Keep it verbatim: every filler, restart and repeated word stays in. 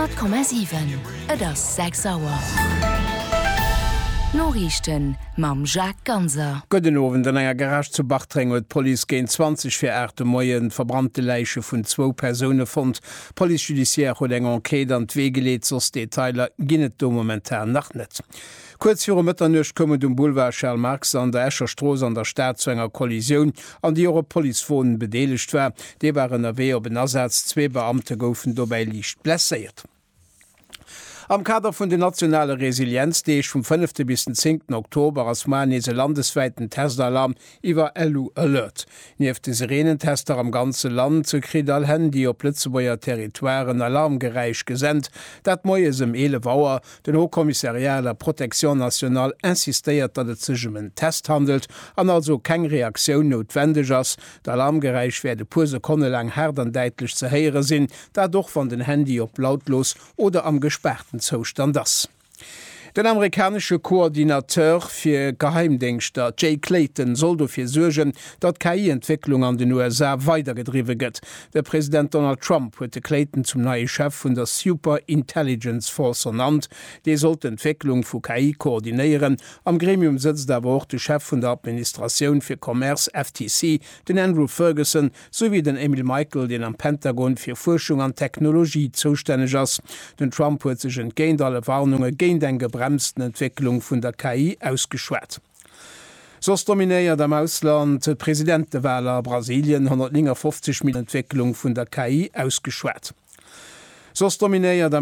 Honnert Komma siwen, Et ass sechs Auer. D'Noriichten mam Jacques Ganser. Gudden Owend, An enger Garage zu Bartreng huet d'Police géint zwanzeg vir aacht de Moien d'verbrannte Läiche vun zwou Persoune fonnt. D'Police judiciaire huet eng Enquête an d'Wee geleet, soss Detailer ginn et do momentan nach net. Kuerz viru Mëtternuecht koum et um Boulevard Charles Marx an der Escher Strooss an der Stad zu enger Kollisioun, an déi och e Policewon bedeelegt war. Dee war ënnerwee op en Asaz, zwee Beamte goufen dobäi liicht blesséiert. Am Kader vun den nationale Resilienzdeeg vum fënnefte bis den zéngten Oktober ass mar nees e landeswäiten Testalarm iwwer LU-Alert. Nieft de Sirenentester am ganze Land kritt all Handy op Lëtzebuerger Territoire en Alarmgeräisch gesent, dat moies ëm eelef Auer. Den Haut Commissariat à la Protection nationale insistéiert, datt et sech ëm en Test handelt an also keng Reaktioun noutwendeg ass. D'Alarmgeräisch wäert e puer Sekonne laang haart an däitlech ze héiere sinn, dat och wann den Handy op lautlos oder am gespaarten Zoustand ass. Den amerikanesche Coordinateur fir Geheimdéngschter Jay Clayton soll dofir suergen, datt d'K I-Entwécklung an den U S A weidergedriwwe gëtt. De President Donald Trump huet de Clayton zum neie Chef vun der Super Intelligence Force ernannt. Dee soll d'Entwécklung vu K I koordinéieren. Am Gremium sëtzt awer och de Chef vun der Administratioun fir Commerce, F T C, den Andrew Ferguson, souwéi den Emil Michael, deen am Pentagon fir Fuerschung an Technologie zoustänneg ass. Den Trump huet sech entgéint alle Warnunge géint eng gebremsten Entwécklung vun der K I ausgeschwat. Soss dominéiert am Ausland d'Presidentewal a Brasilien, honnertnéngafofzeg Mil Entwécklung vun der K I ausgeschwat. Soss dominéiert am